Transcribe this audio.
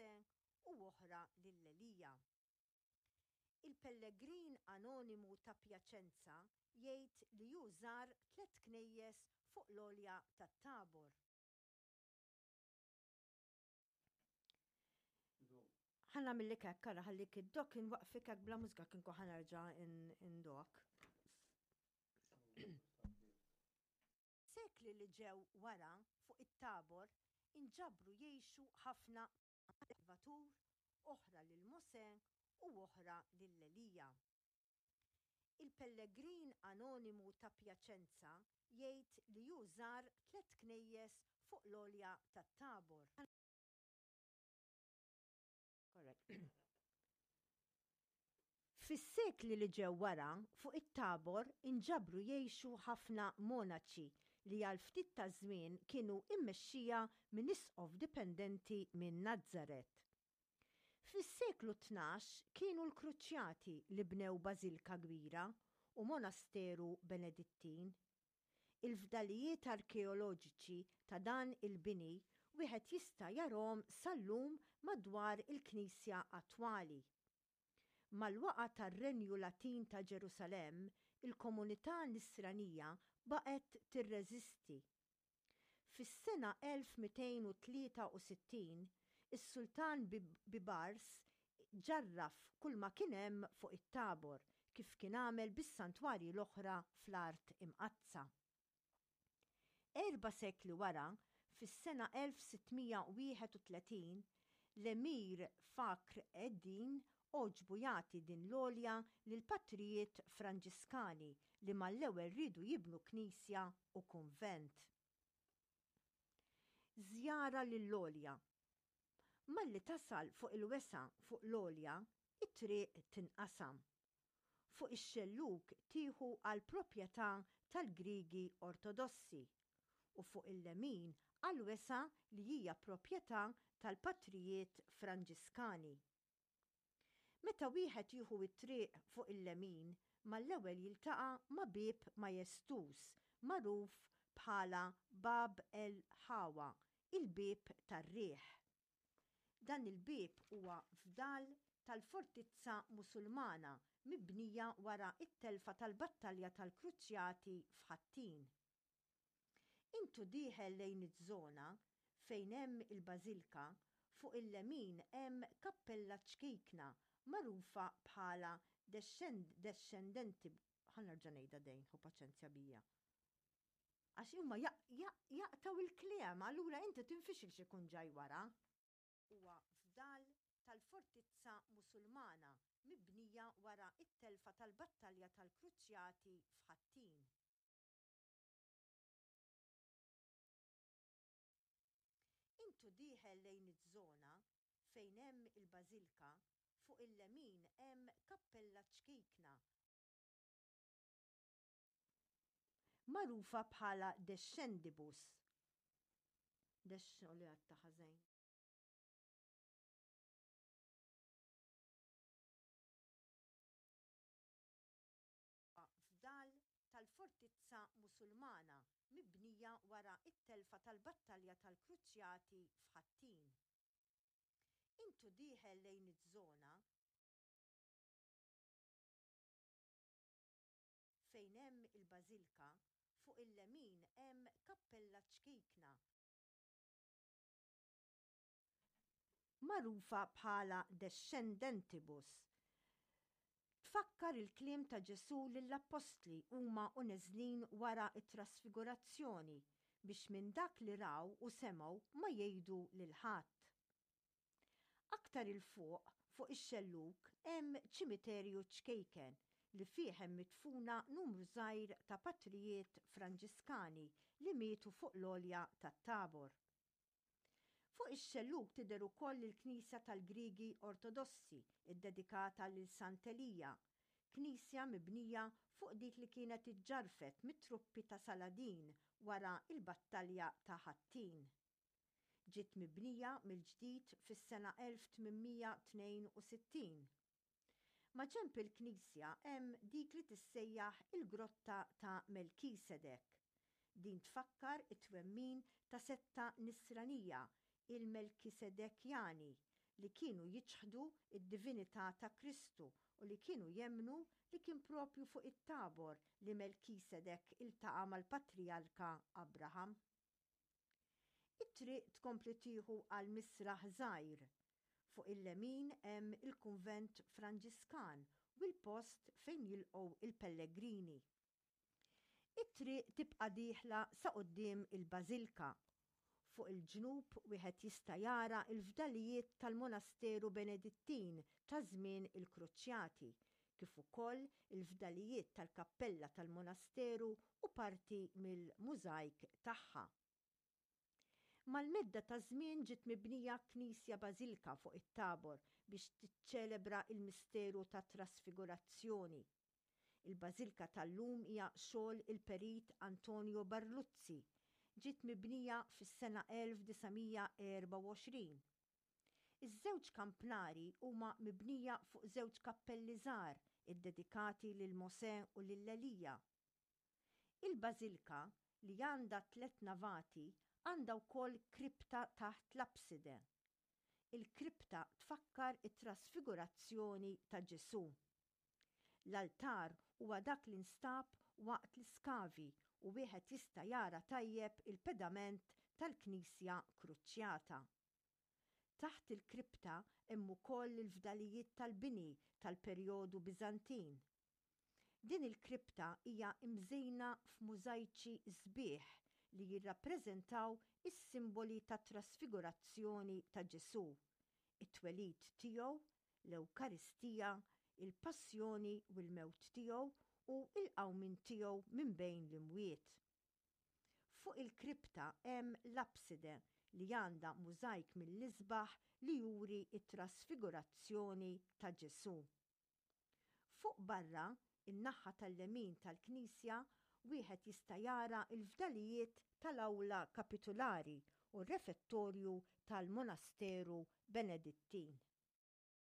Mosè u oħra lil Elija. Il-pellegrin anonimu ta' Piacenza jgħid li hu żar tlett knejjes fuq l-għolja tat-Tabor. Ħa nagħmillek hekk, ara ħallik id-dok inwaqqfik hekk bla mużika kien ħa nerġa' indok. Sekli li ġew wara fuq it-Tabor inġabru jgħixu ħafna Salvatur, oħra lil Mosè u oħra lil Elija. Il-pellegrin anonimu ta' Piacenza jgħid li hu żar tlett knejjes fuq l-għolja tat-Tabor. Fis-sekli li ġew wara, fuq it-Tabor inġabru jgħixu ħafna monaċi li għal ftit taż-żmien kienu mmexxija minn isqof dipendenti minn Nazaret. Fis-seklu 12 kienu l-Kruċjati li bnew bażilka kbira u monasteru Benedittin. Il-fdalijiet arkeoloġiċi ta' dan il-bini wieħed jista' jarahom sal-lum madwar il-knisja attwali. Mal-waqgħa tar-Renju Latin ta' Ġerusalemm, il-komunità Nisranija baqgħet tirreżisti. Fis-sena 1263, is-Sultan Bibars ġarraf kulma kien hemm fuq it-Tabor, kif kien għamel bis-santwarji l-oħra fl-Art Imqaddsa. Erba' sekli wara, fis-sena 1631, l-Emir Fakhr ed-Din għoġbu jagħti din l-għolja lill-patrijiet Franġiskani li mal-ewwel riedu jibnu knisja u kunvent. Żjara lill-għolja Malli tasal fuq il-wesgħa fuq l-għolja, it-triq tinqasam. Fuq ix-xellug tieħu għall-proprjetà tal-Griegi Ortodossi u fuq il-lemin għall-wesgħa li hija proprjetà tal-patrijiet Franġiskani. Meta wieħed jieħu t-triq fuq il-lemin, mal-ewwel jiltaqa' ma' bieb majestuż magħruf bħala Bab el Hawa, il-Bieb tar-Riħ. Dan il-bieb huwa fdal tal-fortizza Musulmana mibnija wara t-telfa tal-Battalja tal-Kruċjati f'Ħattin. Int u dieħel lejn iż-żona fejn hemm il-bażilka, fuq il-lemin hemm kappella ċkejkna magħrufa bħala Descendenti, ħa nerġa' ngħidha dejn, ħu paċenzja bija. Għax huma jaqtgħu il-kliem, allura inti tinfixil x'ikun ġaj wara. Huwa fdal tal-fortizza Musulmana mibnija wara t-telfa tal-Battalja tal-Kruċjati f'Ħattin. Int u dieħel lejn iż-żona fejn hemm il-bażilka, fuq il-lemin hemm kappella ċkejkna magħrufa bħala Descendibus. Dex, li għadta ħażin. Fdal tal-fortizza Musulmana mibnija wara t-telfa tal-Battalja tal-Kruċjati f'Ħattin. Int u dieħel lejn iż-żona fejn hemm il-bażilka, fuq il-lemin hemm kappella ċkejkna magħrufa bħala Descendentibus, tfakkar il-kliem ta' Ġesù lill-appostli huma u neżlin wara t-trasfigurazzjoni biex minn dak li raw u semgħu ma jgħidu lil ħadd. Aktar 'il fuq, fuq ix-xellug, hemm ċimiterju ċkejken li fih hemm midfuna numru żgħir ta' patrijiet Franġiskani li mietu fuq l-għolja tat-Tabor. Fuq ix-xellug tidher ukoll il-knisja tal-Griegi Ortodossi ddedikata lil Sant'Elija, knisja mibnija fuq dik li kienet iġġarrfet mit-truppi ta' Saladin wara l-battalja ta' Ħattin. Ġiet mibnija mill-ġdid fis-sena 1862. Maġenb il-knisja hemm dik li tissejjaħ il-Grotta ta' Melkisedek. Din tfakkar it-twemmin ta' setta Nisranija, il-Melkisedekjani, li kienu jiċħdu d-divinità ta' Kristu u li kienu jemmnu li kien proprju fuq it-Tabor li Melkisedek iltaqa' mal-patrijarka Abraham. It-triq tkompli tieħu għal misraħ żgħir. Fuq il-lemin hemm il-kunvent Franġiskan u l-post fejn jilqgħu l-pellegrini. It-triq tibqa' dieħla sa quddiem il-bażilka. Fuq il-ġnub wieħed jista' jara l-fdalijiet tal-monasteru Benedittin ta' żmien il-Kruċjati, kif ukoll il-fdalijiet tal-kappella tal-monasteru u parti mill-mużajk tagħha. Mal-medda taż-żmien ġiet mibnija knisja bażilka fuq it-Tabor biex tiċċelebra l-misteru tat-Trasfigurazzjoni. Il-bażilka tal-lum hija xogħol il-Perit Antonio Barluzzi. Ġiet mibnija fis-sena 1924. Iż-żewġ kampnari huma mibnija fuq żewġ kappelli żgħar iddedikati lil Mosè u lil Elija. Il-bażilka, li għandha tlett navati, għandha wkoll kripta taħt l-apside. Il-kripta tfakkar it-trasfigurazzjoni ta' Ġesù. L-altar huwa dak li nstab waqt l-iskavi u wieħed jista' jara tajjeb il-pedament tal-knisja kruċjata. Taħt il-kripta hemm ukoll il-fdalijiet tal-bini tal-perjodu Biżantin. Din il-kripta hija mżejna f'mużajċi sbieħ li jirrappreżentaw is-simboli tat-trasfigurazzjoni ta' Ġesù, it-twelid tiegħu, l-Ewkaristija, il-passjoni u l-mewt tiegħu u l-qawmien tiegħu minn bejn l-imwiet. Fuq il-kripta hemm l-apside li għandha mużajk mill-isbaħ li juri t-trasfigurazzjoni ta' Ġesù. Fuq barra, in-naħa tal-lemin tal-knisja, wieħed jista' jara l-fdalijiet tal-awla kapitulari u r-refettorju tal-monasteru Benedittin.